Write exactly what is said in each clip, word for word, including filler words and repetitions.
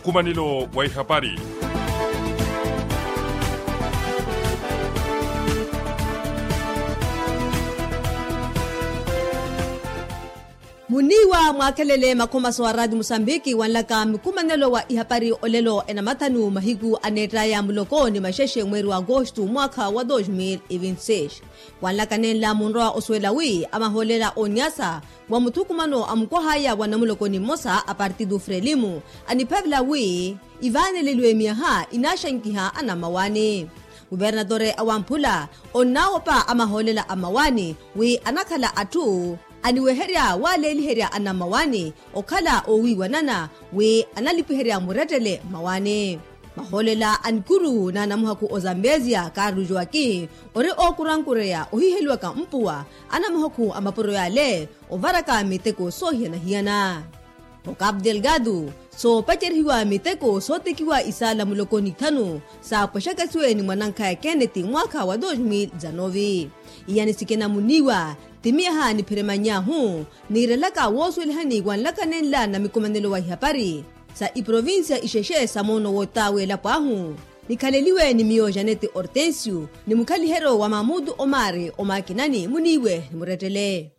Nkumanelo wa ihapari. Muniiwa mwaakhelele makhomaso a raati musambiki wanlaka mikumanelo wa ihapari olelo enamathanu mahiku aneettaya muloko ni maxexe mweeri wa agosto mwaakha wa dos mil e vinti seis. Wanlaka nenla munrowa osuwela wi amahoolela oniyasa wa muthukumano a mukwahaya wa namulokoni mmosa a partido frelimu aniphavela wi ivaaneleliwe miyaha inaaxankiha anammawaani. Kuvernatore a wamphula onnaawopa amahoolela a mmawaani wi anakhala atthu aniweherya waaleeliherya anammawaani okhala oowiiwanana wi analipiherya murettele mmawaani. Mahoolela a nikuru na namuhakhu ozambezia carlos joaquin ori ookurankureya ohiheliwaka mpuwa anamuhakhu a mapuro yaale ovaraka miteko soohiyana-hiyana. Okapu delgado soopacerihiwa miteko sootekiwa isaala muloko nithanu saapwexakasiwe ni mwanankhaya kenneti mwaakha wa dos mil dezanove. Iyani sikina muniiwa ti miyaha nipheremany'ahu niirelaka woosuwelihani wanlaka nenla na mikumanelo wa ihapari sa iprovincia ixexe sa moono woottaawe elapo ahu. Nikhaleliwe ni miyo janete hortensio ni mukhaliheryo wa mamutu omari omaakinani muniiwe ni murettele.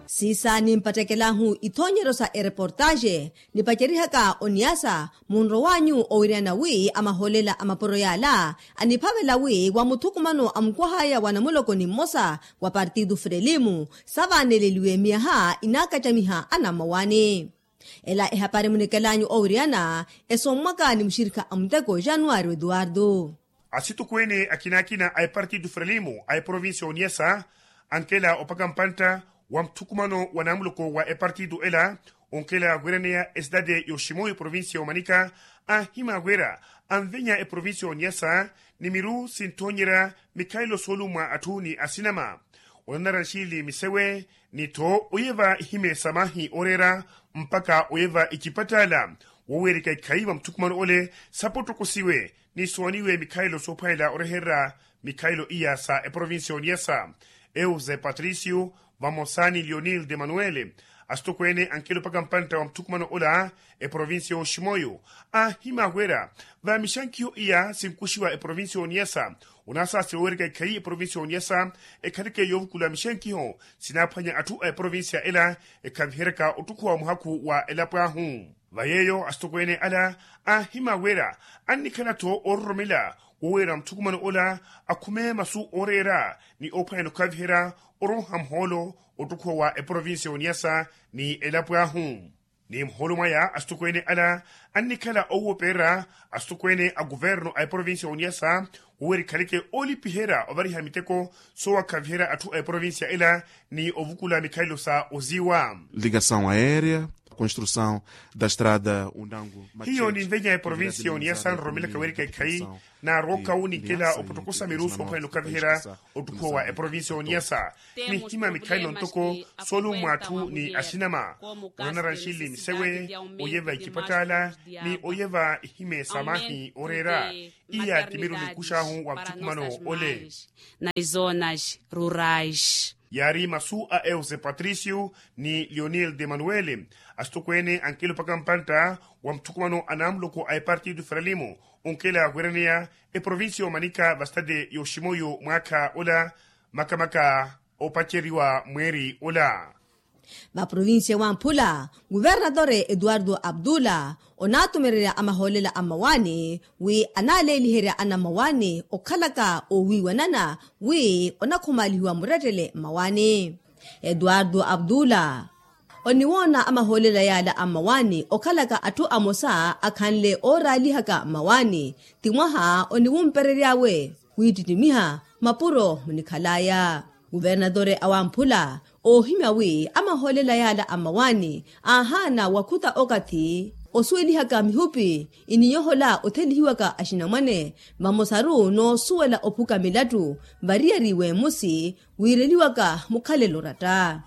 Siisa nimpattekel'ahu ithoonyeryo sa ereportaxe nipacerihaka oniyasa munrowanyu owiriyana wi amahoolela a mapuro yaala aniphavela wi wa muthukumano a mukwahaya wa namulokoni mmosa wa partido frelimu savaaneleliwe miyaha inaakacamiha anammawaani. Ela ehapari munikel'anyu owiriyana esommwaka ni muxirikha a muteko januwari eduwardo. Asitokweene akina-akina a epartido frelimu a eprovincia oniyasa ankela opaka mpantta wa muthukumano wa namuloko wa epartido ela onkela wiraneya esidade yoximoyo eprovincia omanika anhima wira anvenya eprovincia oniyasa ni miru sinthoonyerya mikhalelo soolummwa atthu ni asinama onanara nxili misewe ni-tho oyeva ihime sa maahi ooreera mpakha oyeva icipattaala woweerika ikhayi va muthukumano ole sapottokosiwe ni sooniwe mikhalelo soophwanela orehererya mikhalelo iya sa eprovincia oniyasa. Euse patricio vamosa ni lionil de manuel asitokweene ankelo mpakha mpantta wa muthukumano ola eprovincia yoximoyo anhima wira va mixankiho iya sinkuxiwa eprovincia oniyasa onasaasi woweereka ikhayi eprovincia oniyasa ekhaleke yoovukula mixankiho sinaaphwanya atthu a eprovincia ela ekhaviheryaka ottukhuwa muhakhu wa elapo ahu. Va yeeyo asitokweene ala anhima wira annikhala-tho oororomela woweera muthukumano ola akhume masu ooreera ni oophwanyana okhaviherya oronha muhoolo ottukhuwa wa eprovincia oniyasa ni elapo ahu. Ni muhoolo mwaya asitokweene ala annikhala owopererya asitokweene a kuverno a eprovincia oniyasa woweera ikhaleke oolipiherya ovariha miteko soowakhaviherya atthu a eprovincia ela ni ovukula mikhalelo sa oziwa. Ligação aérea, construção da estrada undangu hiyo ninvenya eprovincia oniyasa nroromelaka weerika ikhayi naarooka wu ninkela opottokosa miru soophwanela okhaviherya ottukhuwa wa eprovincia oniyasa nihima mikhalelo ntoko soolummwa atthu ni axinama onanara nxili misewe oyeva icipattaala ni oyeva ihime sa maahi ooreera. Iya ti miru ninkux'ahu wa muthukumano ole. Nas zonas rurais. Yaari masu a euse patricio ni lionel de manuel asitokweene ankelo mpakha mpantta wa muthukumano a namuloko a epartido frelimo onkela wiraneya eprovincia omanika va sitade yoximoyo mwaakha ola makamaka opaceriwa mweeri ola. Vaprovincia wamphula kuvernatore eduardo abdula onaatumererya amahoolela a mmawaani wi anaaleeliherya anammawaani okhalaka oowiiwanana wi onakhumaalihiwa murettele mmawaani. Eduardo abdula oniwoona amahoolela yaala a mmawaani okhalaka atthu amosa akhanle ooraalihaka mmawaani ti mwaha oniwumperery'awe wiittittimiha mapuro munikhal'aya. Kuvernatore awamphula oohimya wi amahoolela yaala a mmawaani aahaana wakhuta okathi osuwelihaka mihupi iniyohola othelihiwaka axinamwane vamosaru noosuwela ophuka milattu variyari w'emusi wiireliwaka mukhalelo oratta.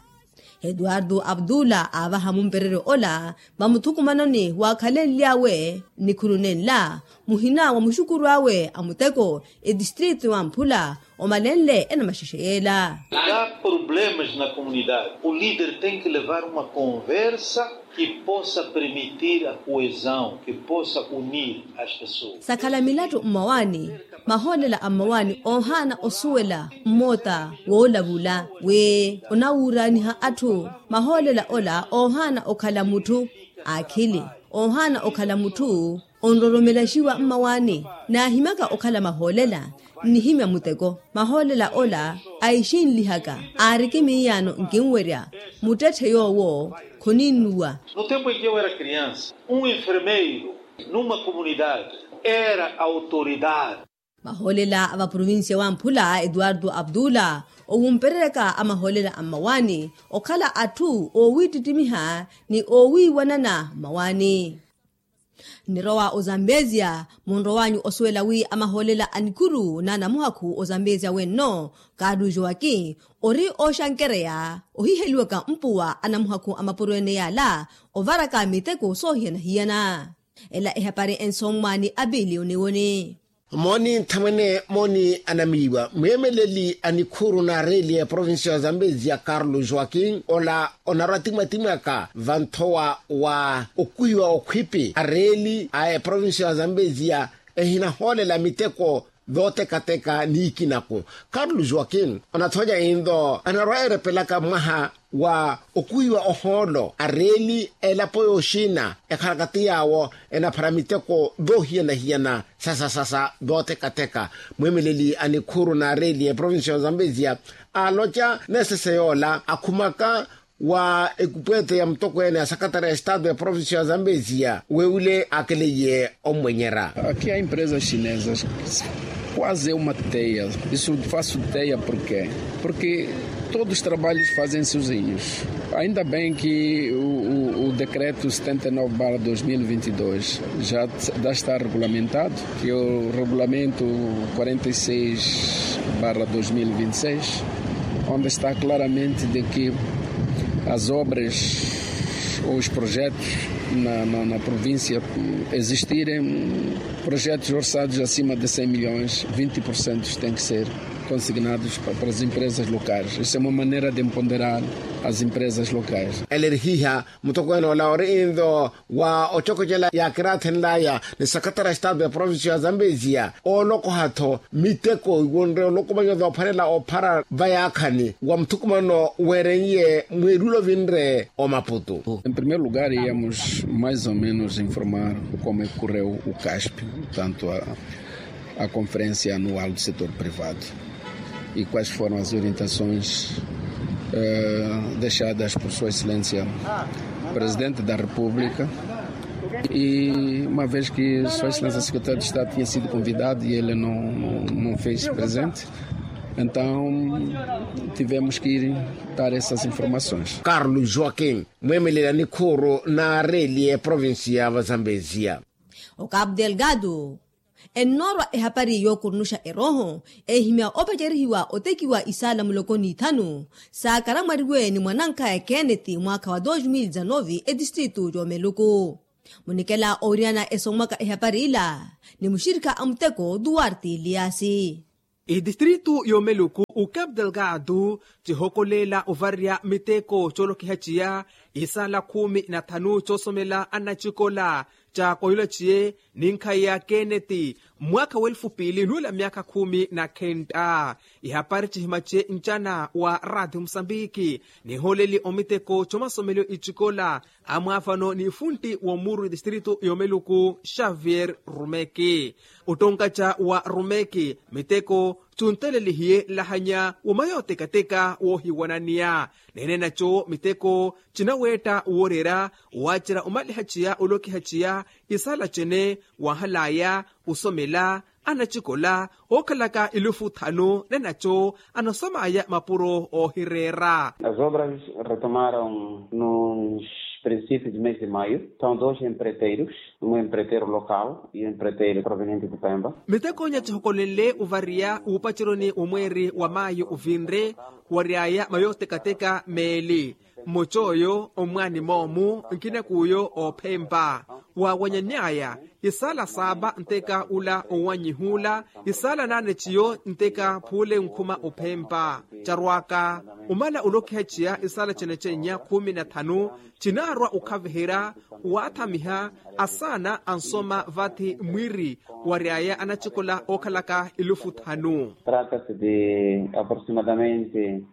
Eduardo abdula aavaha mumpereryo ola vamuthukumanoni waakhalenly'awe nikhunu nenla muhina wa muxukuru awe a muteko etistritu wamphula omalenle enamaxexe yeela. Ka problemas na komunidade o lider tenki levar uma konversa ki posa permitir a koezao ki posa unir as pesoas. Sakhala milattu mmawaani, mahoolela a mmawaani oohaana osuwela mmoota woolavula wi onawuuraaniha atthu. Mahoolela ola oohaana okhala mutthu aakhili, oohaana okhala mutthu onroromelaxiwa mmawaani. Naahimyaka okhala mahoolela nnihimya muteko. Mahoolela ola aixinlihaka aariki miiyaano nkinwerya muttetthe yoowo khoninnuwa. No tempu enkiwera kriansa un enfermeiro numa komunidade era autoridade. Mahoolela a vaprovincia wamphula eduardo abdula owumpereryaka a mahoolela a mmawaani okhala atthu oowittittimiha ni oowiiwanana mmawaani. Nnirowa ozambezia munrowanyu osuwela wi amahoolela a nikhuru n'anamuhakhu ozambezia wenno, kaarlu joaki ori ooxankereya ohiheliwaka mpuwa anamuhakhu a mapuro ene yaala ovaraka miteko soohiyana-hiyana. Ela ehapari ensommwa ni abiliyoni woni. Mooni nthamwene mooni anamiiwa mweemeleli a nikhuuru n'areeli a eprovincia ya zambezia karlo joaquin ola onarwa-timwa-timwaka vanthowa wa okuhiwa okhwipi areeli a eprovincia ya zambezia ehinahoolela miteko vootekateka niikinaku. Karlo joaquin onathonya inlo anarwa-erepelaka mwaha wa okuhiwa ohoolo areeli a elapo yooxina ekhalaka ti yaawo enaphara miteko voohiyana-hiyana sasa-sasa vootekateka. Mweemeleli a nikhuuru n'areeli a eprovincia ya zambezia aaloca neesese yoola akhumaka wa ekupweete ya mutokweene a sakatara ya estado ya provincia ya zambezia wewule aakeleiye ommwenyerya. Aqui a empresa chinesa quase uma teia. Isso faço teia porquê? Porque todos os trabalhos fazem sozinhos. Ainda bem que o decreto setenta e nove barra dois mil e vinte e dois já está regulamentado, que o regulamento quarenta e seis barra dois mil e vinte e seis, onde está claramente de que as obras ou os projetos na província existirem projetos orçados acima de cem milhões, vinte por cento têm que ser consignados para as empresas locais. Isso é uma maneira de empoderar as empresas locais. Elerihiha mutokweene ola ori inlo wa ocokocela yaakiraathenlaya ni sakatara estado ya provincia ya zambezia oolokoha-tho miteko iwonre olokomanya voophwanela ophara vayaakhani wa muthukumano weereiye mwiilulo vinre omaputu. Em primeiro lugar íamos mais ou menos informar como é que correu o caspe, portanto a conferência anual do setor privado, e quais foram as orientações deixadas por sua excelência presidente da república. E uma vez que sua excelência secretário de estado tinha sido convidado e ele não fez presente, então tivemos que ir dar essas informações. Carlos joaquim mweemelela nikhuuru n'areeli eprovincia ya vazambezia. Okapu delgado ennoorwa ehapari yookurunuxa erooho eehimya opacerihiwa otekiwa isaala muloko n'ithanu saakaramwariwe ni mwanankhaya kenneth mwaakha wa dos mil dezanove etistritu y'omeluku. Munikela oowiriyana esonmwaka ehapari ila ni muxirikha a muteko duarte eliasi. Itistritu y'omeluku ucapu delgado cihokolela ovarya miteko coolokiha ciya isaala khumi na thanu coosomela anacikola ca koyula ciye ninkhayi ya kenneth mwaakha w'elfu piili nuula myaakha khumi na khenta. Ihapari cihima ciye ncana wa rati musambiki nihooleli omiteko comasomelo icikola amwaavano ni funtti w'omuuru itistritu y'omeluku xavier rumeki. Ottonkaca wa rumeki miteko cuntelelihiye nlahanya woma yootekateka woohiwananiya neene naco miteko cinaweetta wooreera waacerya omaliha ciya olokiha ciya isaala cene waahalaya osomela anacikola ookhalaka elufu thanu nenaco anasomaya mapuro oohireera. As obras retomaram nos princípios de mês de maio. São dois empreiteiros, um empreiteiro local e um empreiteiro proveniente de pemba. Miteko nya cihokolenle ovariya wuupaceroni wa mweeri wa mayo ovinre waryaya mayootekateka meeli mmoca oyo omwaani moomu nkinak'uyo oophempa. Waawanyanny'aya isaala saapa nteka ula owanyihuula isaala naane ciyo nteka phuule nkhuma ophempa. Carwaaka omala olokiha ciya isaala cenecennya khumi na thanu cinaarwa okhaviherya waathamiha asaana ansoma vathi mwiiri wary'aya anacikola ookhalaka elufu thanu. Trata-se de aproximadamente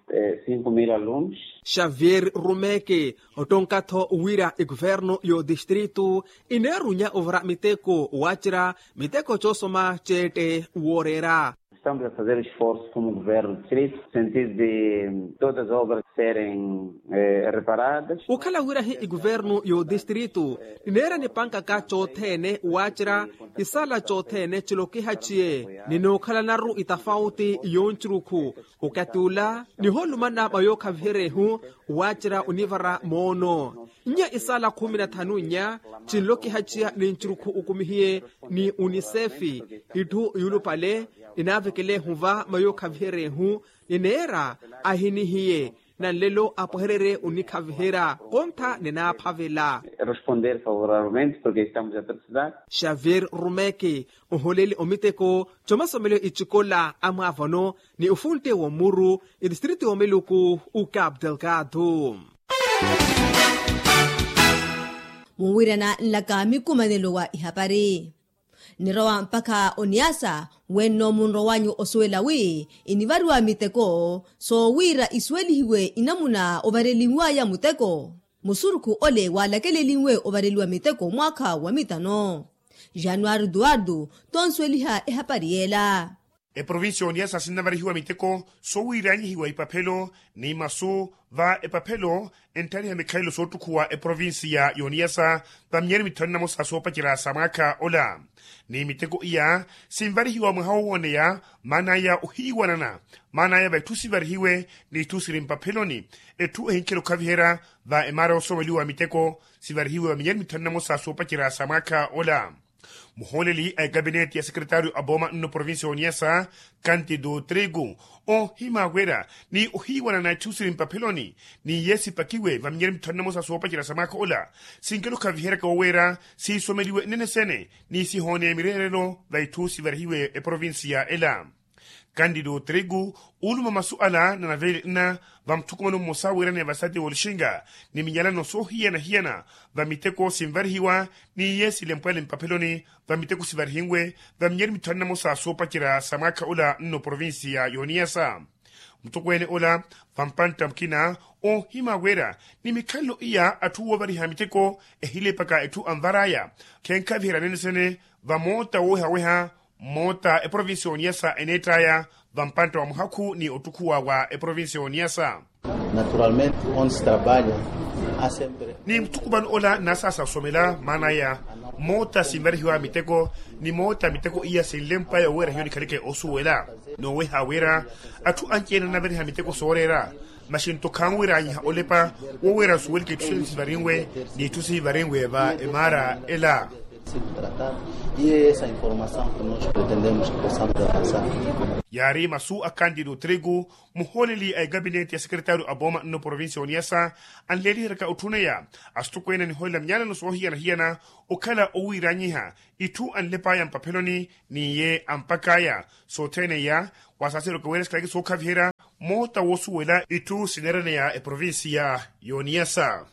cinco mil alunos. Xavier Rumeke ottonka-tho wira ekuvernu y'odistritu ineerunya ovara miteko waacerya miteko coosoma ceette wooreera. Estamos a fazer esforso como governo distrito no sentido de todas as obras serem reparadas. Okhala wira hi ekuvernu y'odistritu nineera nipankaka cothene waacerya isaala cothene cilokiha ciye ninookhalanaru itafauti y'oncurukhu. Okati ola nihoolumana mayookhaviherya ehu waacerya onivara moono nnya isaala khumi na thanu nnya cinlokiha ciya ni ncurukhu okumihiye ni unisefi. Itthu yuulupale ninaavekelehu va mayookhaviherya ehu nineera ahinihiye na nlelo apwehererye onikhaviherya kontha ninaaphavela. Responder favorablemente porque estamos a precisar. Xavier rumeke ohooleli omiteko comasomelo icikola amwaavano ni ofuntte w'omuru etistrito y'omeluku ukapu delgado. Muwirana nlaka mikumanelo wa ihapari nnirowa mpakha oniyasa wenno munro wanyu osuwela wi inivariwa miteko soowiira isuwelihiwe inamuna ovarelinwaya muteko. Musurukhu ole waalakelelinwe ovareliwa miteko mwaakha wa mitano januwari duwardu tonsuweliha ehapari yeela. Eprovincia y'oniyasa sinnavarihiwa miteko soowiiranyihiwa ipaphelo ni masu va epaphelo entthaliha mikhalelo soottukhuwa eprovincia y'oniyasa va minyari mithanu na mosa soopacerya sa mwaakha ola. Ni miteko iya sinvarihiwa mwaha woowoneya maan'aya ohiiwanana maan'aya va itthu sivarihiwe ni itthu siri mpapheloni. Etthu ehinkhela okhaviherya va emaara yoosomeliwa miteko sivarihiwe va minyari mithanu na mosa soopacerya sa mwaakha ola. Muhooleli a ekapineti ya sekretaaryo a pooma nno provincia y'oniyasa kantido trigo oohimaawerya ni ohiiwanana itthu siri mpapheloni ni iye sipakiwe va minyari mithanu na mosa soopacerya sa mwaakha ola. Sinkela okhaviheryaka woweera siisomeliwe nnene sene ni sihooneya mireerelo va itthu sivarihiwe eprovincia ela. Kandido trigo uuluma masu ala na naveeli nna va muthukumano mmosa wiiraneya vasati w'oluxinga ni minyalano soohiyana-hiyana va miteko sinvarihiwa ni iye silempwale mpapheloni va miteko sivarihinwe va minyari mithanu na mosa soopacerya sa mwaakha ola nno provincia y'oniyasa. Mutokweene ola va mpantta mukina oohimaawerya ni mikhalelo iya atthu woovariha miteko ehilepaka etthu anvar'aya khenkhaviherya nene sene va moota woowehaweha mmoota eprovincia y'oniyasa eneett'aya va mpantta wa muhakhu ni ottukhuwa wa eprovincia y'oniyasa. Naturalmente onse trabalha a sempre ni muthukumano ola nnasaasa osomela maan'aya moota sinvarihiwa miteko ni moota miteko iya sinlemp'aya oweera hiyo nikhaleke osuwela. Nooweha wira atthu anci-ene annavariha miteko sooreera masi nto khanwiranyiha olepa woweera nsuweleke itthu sene sivarinwe ni itthu sihivarinwe va emaara ela. Yaari masu a kandido trigo muhooleli a ekapineti ya sekretaaryo a pooma nno provincia y'oniyasa anleeliheryaka otthuneya asitokweene anihoolela minyalano soohiyana-hiyana okhala owiiranyiha itthu anlep'aya mpapheloni ni iye ampak'aya sothene iya. Wasaaseri okaweera sikhaleke sookhaviherya moota woosuwela itthu sineeraneya eprovincia y'oniyasa.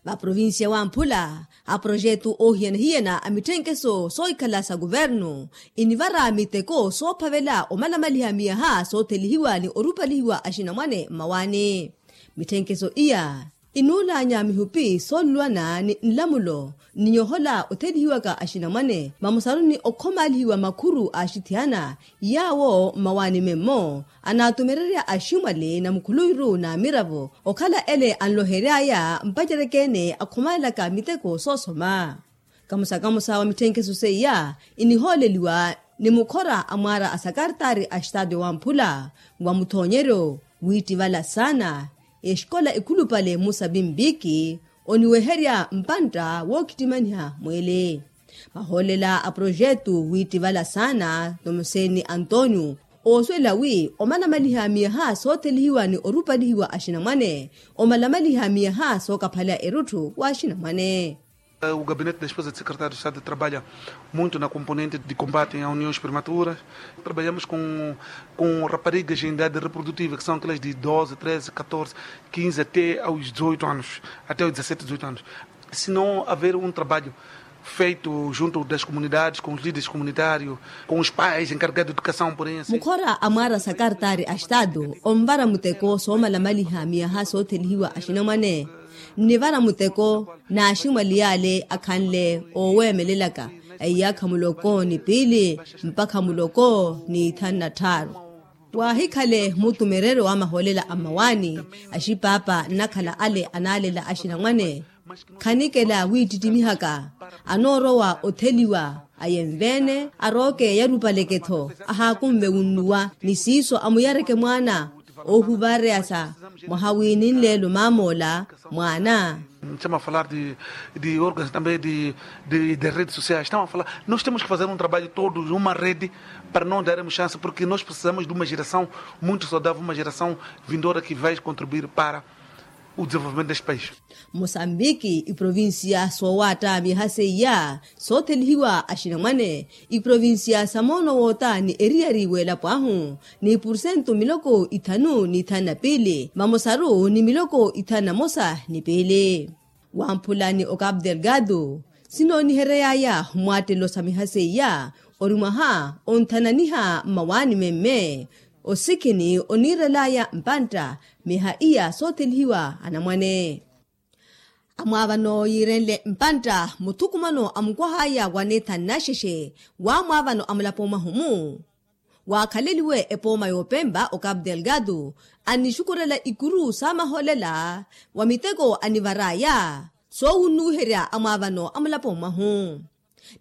Vaprovincia wamphula aprojetu oohiyana-hiyana a mitthenkeso soohikhala sa kuvernu inivara miteko soophavela omalamaliha miyaha soothelihiwa ni orupalihiwa axinamwane mmawaani. Mitthenkeso iya inuulanya mihupi soolulwana ni nlamulo ni nyohola othelihiwaka axinamwane vamusaruni okhomalihiwa makhuru a axithiyana yaawo mmawaani memmo anaatumererya aximwali na mukhuluwiru na miravo okhala ele anlohery'aya mpacereke-ene akhomalelaka miteko soosoma. Kamusa-kamusa wa mitthenkeso seiya inihooleliwa ni mukhora a mwaara a sakartaari a xitaatyo wamphula wa muthoonyeryo wiittivala saana exikola ekhulupale musa pimpiki oniweherya mpantta wookhittimaniha mweele. Mahoolela a projetu wiittivala saana tomuseni antonio oosuwela wi omalamaliha miyaha soothelihiwa ni orupalihiwa axinamwane omalamaliha miyaha sookaphaleya erutthu w'axinamwane. O gabinete da esposa de secretário de estado trabalha muito na componente de combate a uniões prematuras. Trabalhamos com raparigas em idade reprodutiva que são aquelas de doze treze catorze quinze até aos dezoito anos, até aos dezassete dezoito anos. Se não haver um trabalho feito junto das comunidades com os líderes comunitários, com os pais encarregados de educação porém assim. Mukhora a mwaara sakartaari a estado onvara muteko soomalamaliha miyaha soothelihiwa axinamwane, nnivara muteko n'aximwali yaale akhanle ooweemelelaka a iyaakha muloko ni piili mpakha muloko ni ithanu na tthaaru. Waahikhale mutumereryo wa mahoolela a mmawaani, axipaapa nnakhala ale anaalela axinamwane khanikela wiittittimiihaka anoorowa otheliwa ayenve-ene arooke yarupaleke-tho ahaakunve wunnuwa ni siiso amuyareke mwaana oohuvareyasa mwaha wiininleelo maamoola mwaana. Nchama a falar de organs também de redes sociais tama a falar, nós temos que fazer um trabalho todos uma rede para nós daremos chance porque nós precisamos de uma geração muito saudável uma geração vindoura que vai contribuir para o desenvolvimento deste país. Mosambiki iprovincia soowaatta miyaha seiya soothelihiwa axinamwane, iprovincia sa moono woota ni eriyari w'elapo ahu ni pursentu miloko ithanu ni ithanu na piili vamosaru ni miloko ithanu na mosa ni piili. Wamphula ni ocapu delgado sinoonihery'aya mwattelo sa miyaha seiya ori mwaha onthananiha mmawaani memme osikhini oniirel'aya mpantta miyaha iya soothelihiwa anamwane. Amwaavano yiirenle mpantta muthukumano a mukwah'aya wa neethani naxexe w'amwaavano a mulapo mwahumu waakhaleliwe epooma y'opempa ocapu delgado annixukurela ikuru saamahoolela wa miteko anivar'aya soowunnuwiherya amwaavano a mulapo mwahu.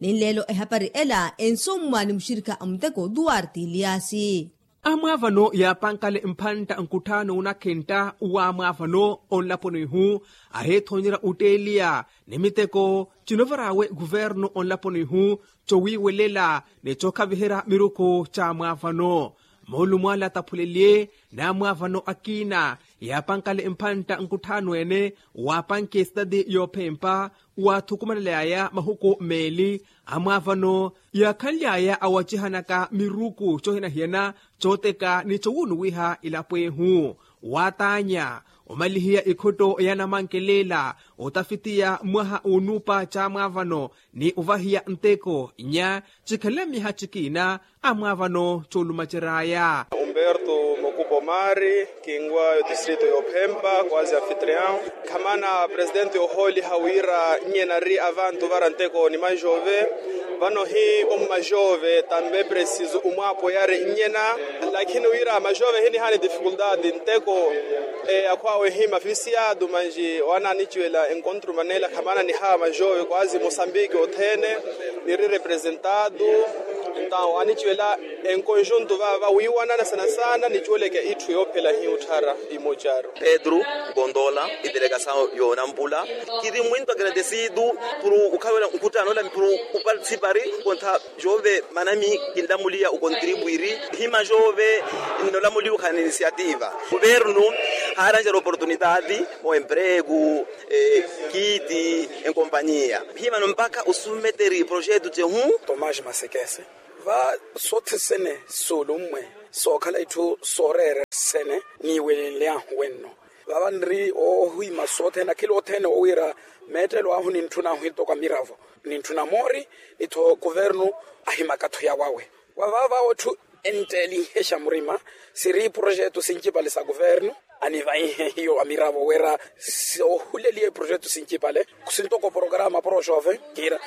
Ninleelo ehapari ela ensommwa ni muxirikha a muteko duarte eliasi. Amwaavano yaapankale mphantta nkutthaano wunakhentta w'amwaavano onlaponi ihu ahiithoonyerya otteeliya ni miteko cinovar'awe kuvernu onlaponi ihu cowiiwelela ni cokhaviherya miruku c'amwaavano. Moolumo ale ataphuleliye n'amwaavano akina yaapankale mphantta nkutthaano ene waapanke sitati yoophempa waathukumanely'aya mahuku meeli amwaavano yaakhanly'aya awacihanaka miruku cohina hiyana cooteka ni cowuunuwiha ilapo ehu waataanya omalihiya ikhotto ya namankelela otafitiya mwaha onuupa c'amwaavano ni ovahiya nteko nya cikhalela miyaha cikina amwaavano coolumacery'aya. Umberto mokupo mari kinwa yo distrito y'ophempa kwazi anfitrion khamana presidente ohooliha wira nnyena ri avantu vara nteko ni majove. Vano hi ommajove tambe presiso omwaapo yari nnyena lakhini wira majove hinihaani difikultati nteko akhwaawe hi mafisiyaatu manji owananiciwela enkontru manela khamana nihawa majove kwazi mosambiki othene niri representado. Entaw aniciwela enkonjuntu vava wiiwanana sana sana niciweleke itthu yoophela hi otthara imocaru. Pedro kontola idelegasaw yoonampula kiri mwinto agradecido puru ukhawiwela nkhuttano ola puru uparticipari kontha jove manami kinlamuliya ukontribwiri hima jove nnolamuliwa khana inisiativa kuvernu haaranjera oportunitati o empregu kiti enkompaniya himano mpakha osumeteri projetu cehu. Tomás masekese va sothesene suulummwe sookhala itthu sooreera sene niiwelenly'ahu wenno vava nri oohima sothene akhila othene owiira meettelo ahu nintthun'ahu hitoko a miravo nintthuna moori ni-tho kuvernu ahimaka-tho yawawe wa vava otthu entteelinhexa murima siri projetu sincipale sa kuvernu anivaihe hiyo amiravo wira soohuleliye projetu sincipale sintoko programa proxove kiira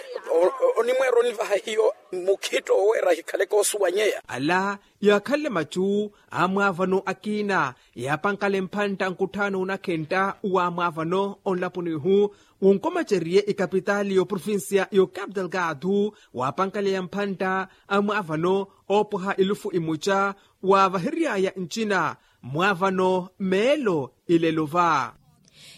onimweera onivaha hiyo mukhitto wira ahikhaleke osuwanyeya. Ala yaakhanle macu amwaavano akina yaapankale mphantta nkutthaano onakhentta wamwaavano onlaponi ihu wunkomaceriye ikapitaali y'oprovincia y'ocapital gaathu waapankaleya mphantta amwaavano oopwaha elufu imoca waavahery'aya ncina mwaavano meelo ilelo va.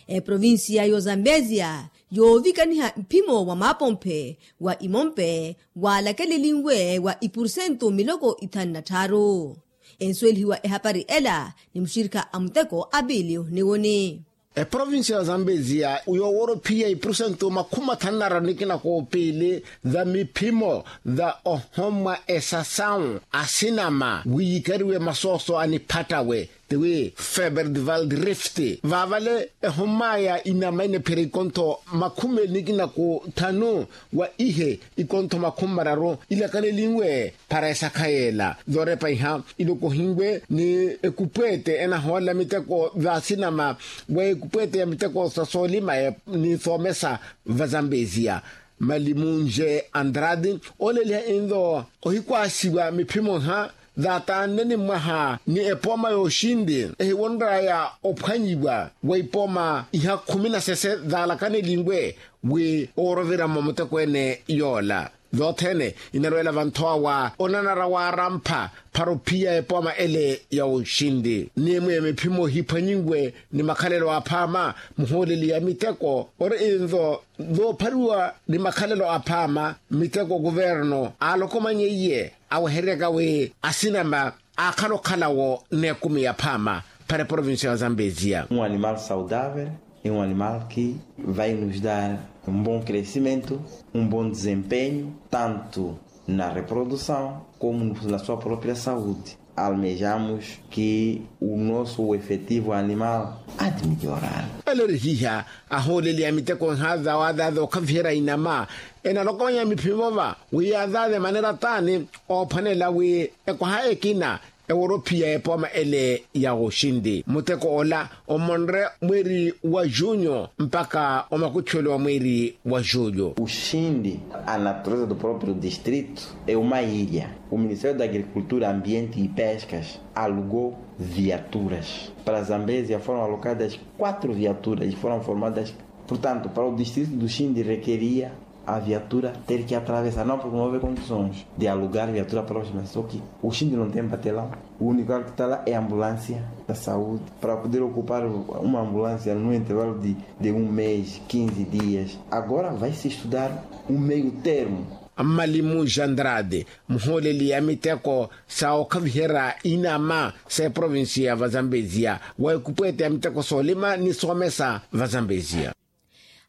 Eprovincia y'ozambezia yoovikaniha mphimo wa maapomphe wa imompe waalakelelinwe wa ipursentu miloko ithanu na tthaaru ensuwelihiwa ehapari ela ni muxirikha a muteko a piiliyo niwoni. Eprovincia ya zambezia yooworophiya ipurusentu makhumi mathanu na raru nikina koopiili, za miphimo za ohomwa esasawu asinama wiyikariwe masooso aniphattawe, tiwi feberdival rift, vaavale ehommaya inama inephera ikontho makhumi eli nikina koothanu wa ihe ikontho makhumi mararu ilakanelinwe. Para esakha yeela zoorepa iha ilokohinwe ni ekupweete enahoolela miteko vaasinama wa ekupweete ya miteko sa soolima ni soomesa vazambezia. Malimunje andrade ooleliha inlo ohikwaasiwa miphimo iha zaatanne ni mwaha ni epooma yooxinti ehiwonraya ophwanyiwa wa ipooma iha khumi na sese zaalakaneliwe wi ooroviramo muteko ene yoola. Zothene inarweela vanthowa wa onanara waarampha para ophiya epooma ele ya oxinti ni emwe miphimo hiphwanyiwe ni makhalelo aphaama. Muhooleli ya miteko ori inzo zoophariwa ni makhalelo aphaama miteko kuverno aalokomanye iye aweheryaka wi asinama aakhala okhalawo n'ekumi yaphaama para eprovincia ya zambezia. Um animal saudável é um animal que vai nos dar um bom crescimento, um bom desempenho tanto na reprodução como na sua própria saúde. Almejamos que o nosso efetivo animal há de melhorar. Elerihiha ahooleli ya miteko nhaza wa azaza okhaviherya inama enalokomanya miphimo va wi azaza emanera taani oophwanela wi ekwaha ekina eworophiya epooma ele ya oxinti muteko ola omonre mweeri wa junyo mpaka omakutthuwelo wa mweeri wa julyo. Oxinti a natureza do próprio distrito é uma ilha. O ministério da agricultura ambiente e pescas alugou viaturas para zambezia foram alocadas quatro viaturas e foram formadas. Portanto para o distrito do xinti requeria a viatura ter que atravessar não porque não houve condições de alugar viatura próxima só que o xinti não tem batelão. O único que está lá é a ambulância da saúde para poder ocupar uma ambulância no intervalo de um mês quinze dias. Agora vai se estudar um meio termo. Malimu jandrade muhooleli ya miteko sa okhaviherya inama sa eprovincia ya vazambezia wa ekupweete ya miteko soolima ni soomesa vazambezia.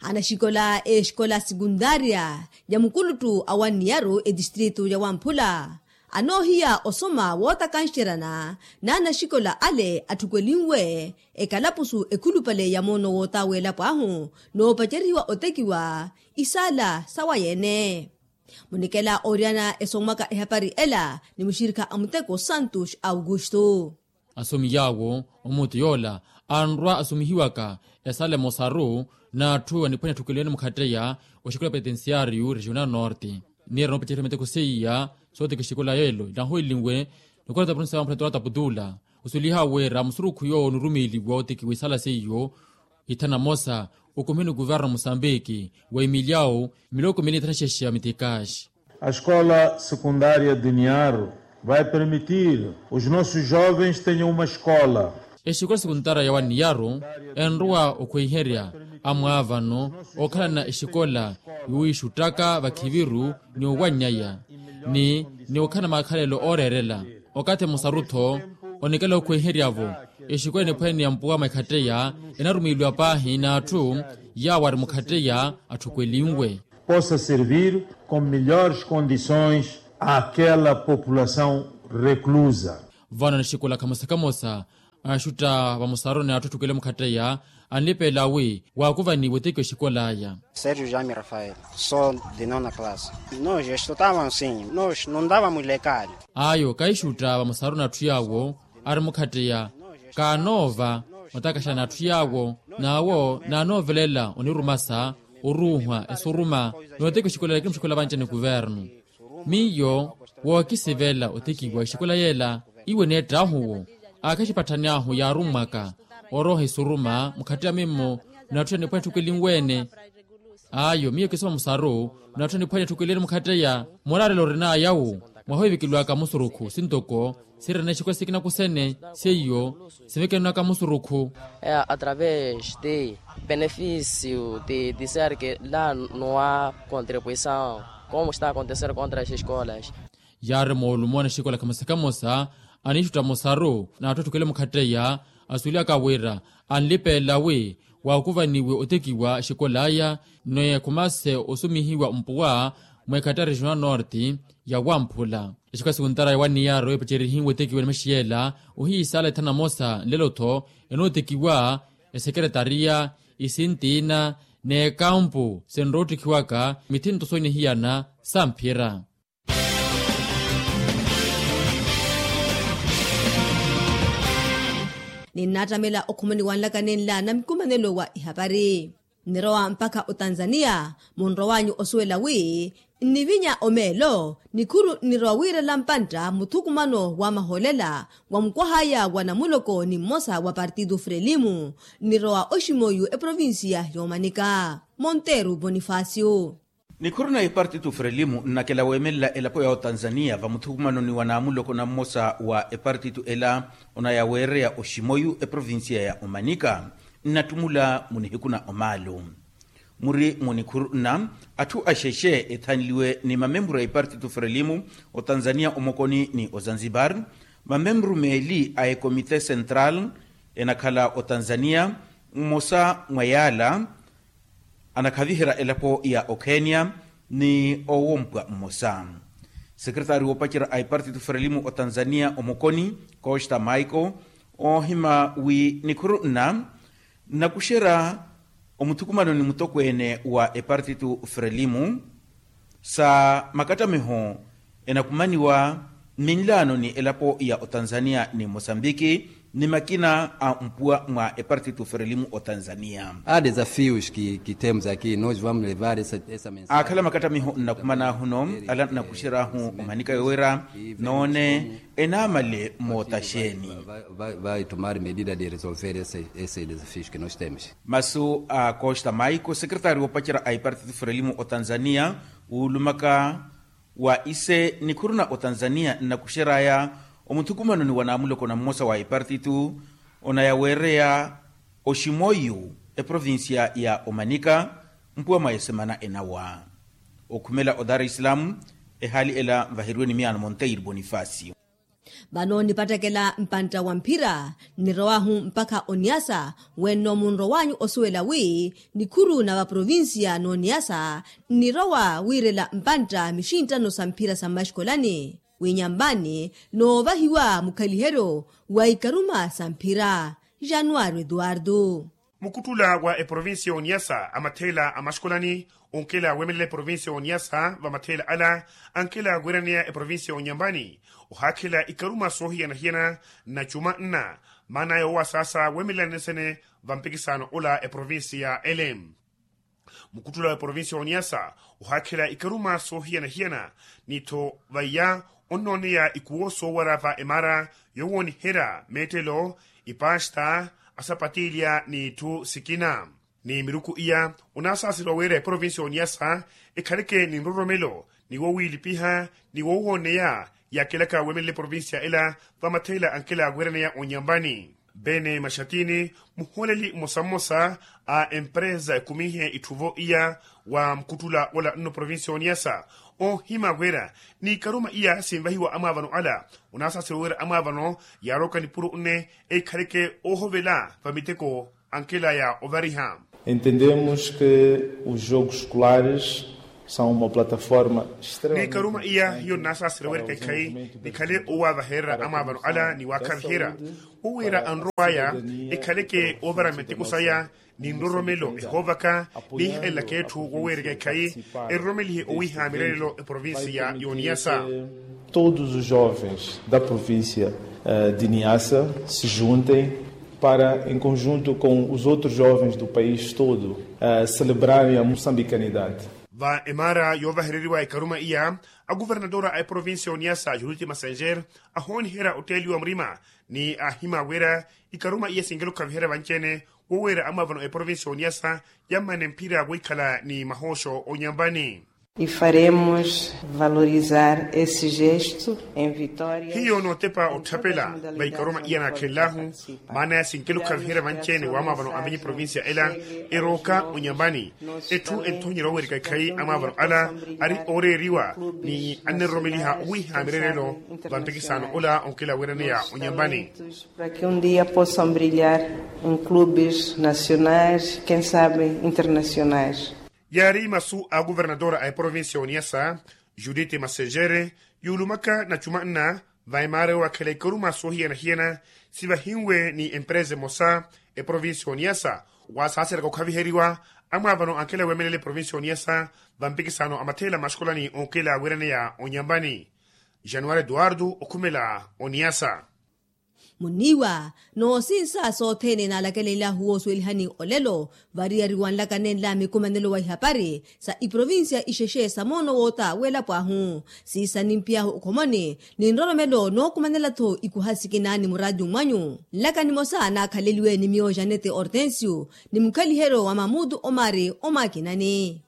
Anaxikola exikola sekundaria ya mukuluttu a wanniyaru etistritu ya wamphula anoohiya osoma wootakanxeryana n'anaxikola ale atthukelinwe ekalapusu ekhulupale ya moono wootaweelapo ahu noopacerihiwa otekiwa isaala sawayeene. Munikela ooriyana esomwaka ehapari ela ni muxirikha a muteko santos augusto. Asomi yaawo omuti yoola anrwa asomihiwaka esala emosaru n'atthu aniphwanya atthukelene mukhatteya oxikola petensiariyu regional norte. Niira noopecerya miteko seiya sooteka exikola yeelo inahowelinwe nikola tapurinsa wa mphula tola taputula osuliha wira musurukhu yoowo onurumiiliwa otekiwa isala seiyo. Ithana mosa okumihe ni kuverno musambiki wa emiliawu miloko mili ithana xexe ya mitikaxi. A escola secundaria de niaro vai permitir os nossos jovens tenham uma escola. Exikola secundaria ya waniyaru enrowa okhweiherya amwaavano okhalana exikola yuwiixuttaka vakhiviru ni owannyaya ni ni okhalana makhalelo ooreerela. Okathi musaru-tho onikela okhweiherya-vo exikola eniphwene ni ampuwa mwa ekhatteya enarumiiliwa paahi n'atthu yaawo ari mukhatteya atthukelinwe. Possa servir com melhores condições àquela população reclusa. Vano anixikola khamosa khamosa axutta vamosaru ni atthu atthukele mukhatteya anlipeela wi waakuvaniwa otekiwa exikola aya. Sergio jami rafael, sou de nona classe. Nos estutava ansinho nos nundava mulekali. Ayo kaixutta vamosaru n'atthu yaawo ari mukhatteya kaanoova otakaxa n'atthu yaawo n'awo naanoovelela onirumasa oruuhwa esuruma. Nootekiwa exikola lakini muxikola vanci ni kuvernu miyo wookisivela otekiwa exikola yeela. Iwe neettaahu-wo aakhaxipatthani ahu yaarummwaka orooha esuruma mukhatteya mimmo. N'atthu aniphwanya etthukelinwe-ene ayo miyo kisoma musaru n'atthu aniphwanya etthukelinwe-ene mukhatteya. Muraarelo orin'aya-wo mwaha ohivikeliwaka musurukhu sintoko sirina exikola sikina kusene seiyo sivikenwaka musurukhu. Através de benefício de dizer que lá não há contribuição como está acontecer contra as escolas. Yaari moolumo anexikola khamosa khamosa anixutta musaru n'atthu atthukele mukhatteya asuwelihaka wira anlipeela wi Waakuvaniwe otekiwa xikolaya ni ekhumase osumihiwa mpuwa mweekhatta regional norte ya wamphula. Exikasi ontara ya waniyaro epacerihiwe otekiwa ni maxiyela ohiisaala ethana mosa nlelo-tho enootekiwa esekeretariya, isintiina n'ekampu sinroottikhiwaka mithinto soonihiyana samphira. Ninnaattamela okhumaniwa nlaka nenla namikumanelo wa ehapari. Nnirowa mpakha otanzaniya munrowanyu osuwela wi nnivinya omeelo nikhuru nnirowa wiirela mpantta muthukumano wa mahoolela wa mukwahaya wa namuloko ni mmosa wa partitu frelimu. Nnirowa oximoyu eprovinsiya yoomanika monteru bonifacio. Nikhuru na epartitu frelimu nnakela weemelela elapo ya otanzaniya vamuthukumanoni wa naamuloko na mmosa wa epartitu ela onaya weereya oximoyu eprovinsiya ya omanika. Nnattumula munihiku na omaalu muri munikhuru nna atthu axexe ethanliwe ni mamemburu a ipartitu frelimu otanzaniya omokoni ni ozanzibar. Mamemburu meeli a ekomite central enakhala otanzaniya mmosa mwa yaala anakhaviherya elapo ya okhenya ni owompwa mmosa. Sekeretari woopacerya a ipartitu frelimu otanzaniya omokoni costa michael oohima wi nikhuru nna nnakuxerya omuthukumano ni mutokweene wa epartitu frelimu sa makattamiho enakumaniwa mminlaano ni elapo ya otanzaniya ni mosambiki ni makina a mpuwa mwa epartitu frelimu otanzaniya. Há desafios que temos aqui nós vamos levar essa mensagen. Aakhala makattamiho nnakumana ahuno ala nnakuxeryahu omanika yowira noone enaamale mootaxeeni. Vai tomar medida de resolver esse desafio que nós temos. Masu a costa maiko sekeretari woopacerya a ipartitu frelimu otanzaniya wuulumaka wa ise nikhuru na otanzaniya nnakuxeryaya omuthukumanoni wa naamuloko na mmosa wa ipartitu onaya weereya oximoyu eprovinsiya ya omanika mpuwa mwa esemana enawa. Okhumela odar islam ehaali ela nvaheriwe ni miyaano monteiro bonifacio. Vano nipattekela mpantta wa mphira nnirowahu mpakha oniyasa wenno munrowanyu osuwela wi nikhuru na vaprovinsiya n'oniyasa nnirowa wiirela mpantta mixinttano sa mphira sa mmaxikolani winyamvani noovahiwa mukhaliheryo wa ikaruma sa mphira. Januwari eduwardo. Mukuttula wa eprovinsiya y'oniyasa amatheela a maxkolani onkela weemelela eprovinsiya y'oniyasa vamatheela ala ankela weeraneya eprovinsiya y'onyambani ohaakhela ikaruma soohiyana-hiyana na cuma nna maana yoowasaasa weemelela nesene vampikisaano ola eprovinsiya ele. Mukuttula wa eprovinsiya y'oniyasa ohaakhela ikaruma soohiyana-hiyana ni-tho vaiya onnooneya ikuwo soowara va emaara yowooniherya meettelo ipasta asapatilya n'itthu sikina. Ni miruku iya onaasaaseriwa wira eprovinsiya y'oniyasa ekhaleke ni nroromelo ni wowiilipiha ni wowooneya yaakelaka weemelela eprovinsiya ela vamatheela ankela weeraneya onyambani. Bene maxatini muhooleli mmosa-mmosa a empresa ekumihe itthuvo iya wa mukhuttula ola nno provinsiya y'oniyasa oohima wira n'ikaruma iya sinvahiwa amwaavano ala onaasaaseriwa wira amwaavano yaaroka nipuro nne ekhaleke oohovela vamiteko ankela ya ovariha. Entendemos que os jogos escolares são uma plataforma extremamente importante para o desenvolvimento da saúde da população. Nikaruma iya hiyo nnaasaaseriwa wira ekhayi nikhale owaavaherera amwaavano ala ni waakhaviherya wowira anrow'aya ekhaleke oovara miteko saya ni nroromelo ehoovaka niihalelaka etthu woweereka ekhayi eroromelihe owiiha mirerelo eprovinsiya y'oniyasa. Todos os jovens da província de niassa se juntem para em conjunto com os outros jovens do país todo celebrarem a moçambicanidade. Va emaara yoovahereriwa ekaruma iya aguvernatora a eprovinsiya y'oniyasa juriti massenger ahooniherya otteeliwa murima ni aahima wira ikaruma iya sinkela okhaviherya vanci-ene woweera amwaavano a eprovinsiya y'oniyasa yammane mphira wiikhala ni mahooxo onyambani. E faremos valorizar esse gesto em vitória. Hiyo nootepa otthapela. Vaikaruma iya naakhenlahu maana ya sinkela okhaviherya vanci-ene wamwaavano a menye provincia ela erooka onyambani. Etthu enthonyerya owerika ekhayi amwaavano ala ari ooreeriwa ni anneroromeliha owiiha mirerelo. Vampikisano ola onkela weeraneya onyambani. Para que um dia possam brilhar em clubes nacionais, quem sabe internacionais. Yaari masu a governadora a eprovincia ya oniyasa, judith masejere, yuulumaka na cuma nna va emaara yoowakhela ikaruma soohiyana-hiyana sivahinwe ni empresa emosa. Eprovincia ya oniyasa, waasaaseraka okhaviheriwa amwaavano ankela weemelela eprovincia ya oniyasa, vampikisano a matheela maxukolani onkela weeraneya onyambani. Januari eduardo okhumela oniyasa. Muniiwa noosinsa sothene naalakelelilahu woosuwelihani olelo, variyari wanlakanenla mikumanelo wa ihapari sa iprovincia ixexe sa moono woota welapo ahu. Siisa nimpiy'ahu okhomoni ni nroromelo nookumanela-tho ikuha sikina ni muraati mmwanyu. Nlaka nimosa naakhaleliwe ni miyo janete hortensio ni mukhaliheryo wa mamutu omari omwakinani.